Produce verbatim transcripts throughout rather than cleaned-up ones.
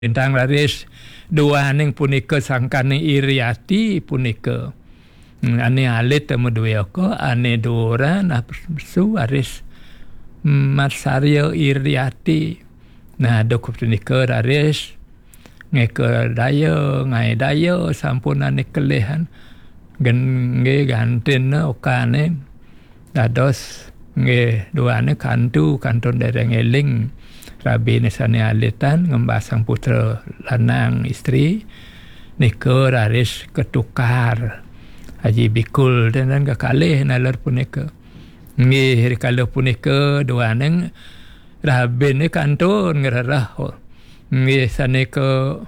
Lintang raris duaning punika sangkaning iri ati punika. Hmm, ane alit temu due oko, ane duran, nah, pesu raris matsarya iri ati. Nah, duk punika raris ngeka daya, ngae daya, sampun ane kelihan. Gen-, nggih, gantinne okane. Dados nggih duane kantu, kantun dereng eling rabine sane alitan ngembasang putra lanang istri, nika raris ketukar. Aji bikul tenten kekalih naler punika. Nggih, rikala punika duane rabine kantun ngrereh. Nggih, sane ke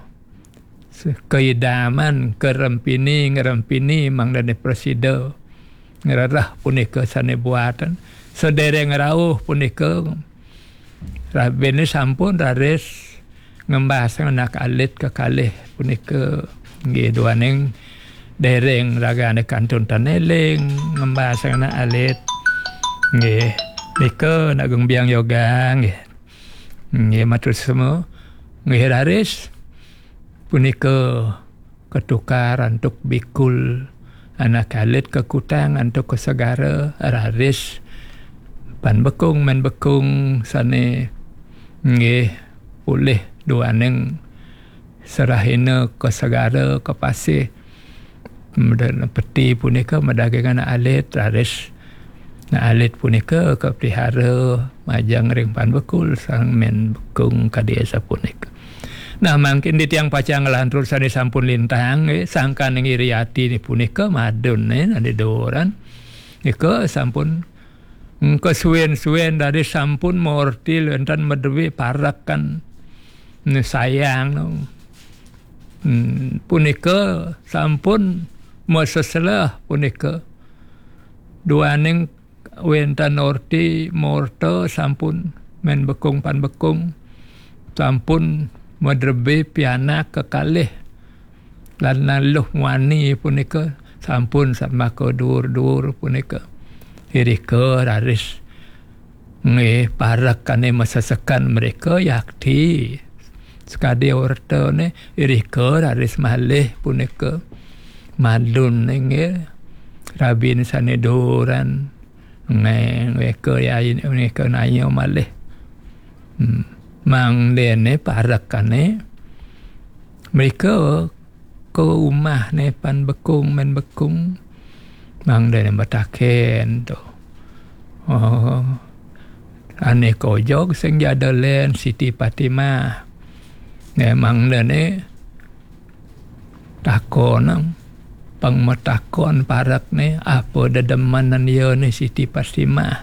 se-, keidaman, kerempini, ngerempini, mangdane prasida ngrereh punika sane buatan. Sedereng rauh punika, rabine sampun raris ngembasang anak alit kekalih punika. Nggih, duaning dereng ragane kantun tan eling ngembasang anak alit. Nggih, nika nak geng biang yoga, nggih. Nggih, matur suksma. Nggih, raris punika ketukar antuk bikul, anak alit kekutang antuk ka segara, raris pan bekung, men bekung sane nggih polih duaning serahina ka segara, ka pasih. Meda-, peti punika medagang anak alit, raris anak alit punika kapelihara majeng ring pan bekul sareng men bekung kadi asapunika. Nah, mangkin titiang pacang nglantur sane sampun lintang, nggih, sangkaning iri ati ni punika madun, nggih, ane doran. Nika sampun, mm, kasuwen-suwen dadi sampun maorti wenten madue parekan, mm, sayang, no. Hmm, punika sampun maseselah punika. Duaning wenten orti morta sampun men bekung pan bekung. Sampun madrebih pianak kekalih. Lan naluh muani punika sampun samaka dur-dur punika. Irika raris nggih, parekane masesekan mereka yakti. Sekadi ortane irika raris malih punika. Madun nggih, rabin sane doran. Nggih, ngeka yai, ngeka naya malih. Hmm. Mangdene parekane mereka ke umah ne pan bekung, men bekung. Mangdene betaken to. Oh. Ane kojog sing jada len Siti Fatimah. Ne mangdene takon, pang metakon parekne apa dedemenan ya ne Siti Fatimah.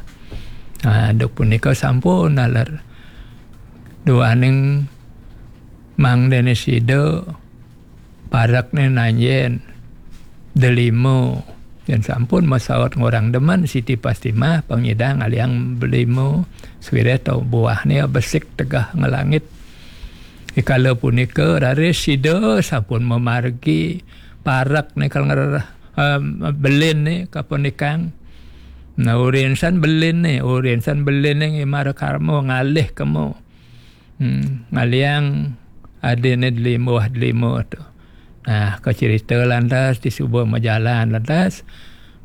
Ha, duk punika sampun naler. Duaning mangdene sida parekne nanjen delima. Yen sampun masaut ngorang demen Siti Fatimah, pang nyidang aliang delima, sawireh to buahne besik tegeh ngelangit. Ikala punika raris sida sampun mamargi parekne kal ngerereh, em, belinne kapunikang. Nah, urinsan belinne, urinsan belinne ngimara karma ngalih kemo. Hmm, ngaliang adine delima, delima to. Nah, kacerita lantas disuba majalan lantas.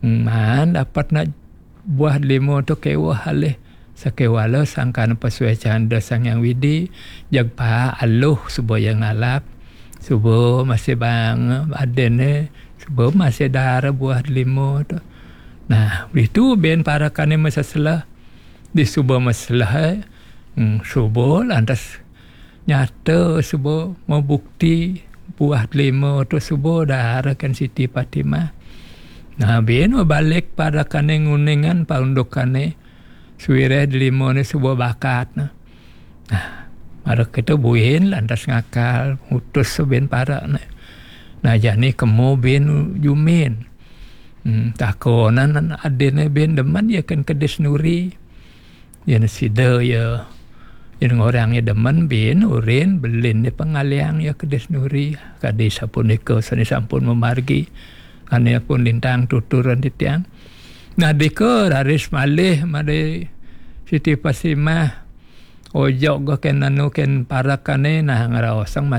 Hmm, man dapat nak buah delima to keweh alih. Sakewala sangkan pasuecan Ida Sang Hyang Widi, jeg pa aluh suba ya ngalap. Suba masih bang adine, suba masih dara buah delima to. Nah, ditu ben parekane maseselah. Disuba maselah, eh. Hmm, suba lantas nyata suba mabukti buah delima to suba dara kan Siti Fatimah. Nah, bin mabalik parekane nguningan paundukane sawireh delimane suba bakat. Nah, mara kita buin lantas ngakal, ngutus bin parekne. Nah, jani kemo bin jumin. Hmm, takonan adine bin demen ya kan kedis nuri. Yen sida ya, yen ngorang ya demen bin urin belin ni pangaliang ya kedis nuri. Kadi sapunika sane sampun mamargi. Ane pun lintang tuturan titiang. Nah, dika raris malih made Siti Fatimah. Ojo go ken anu ken parak kane, nah, ngaraosang mah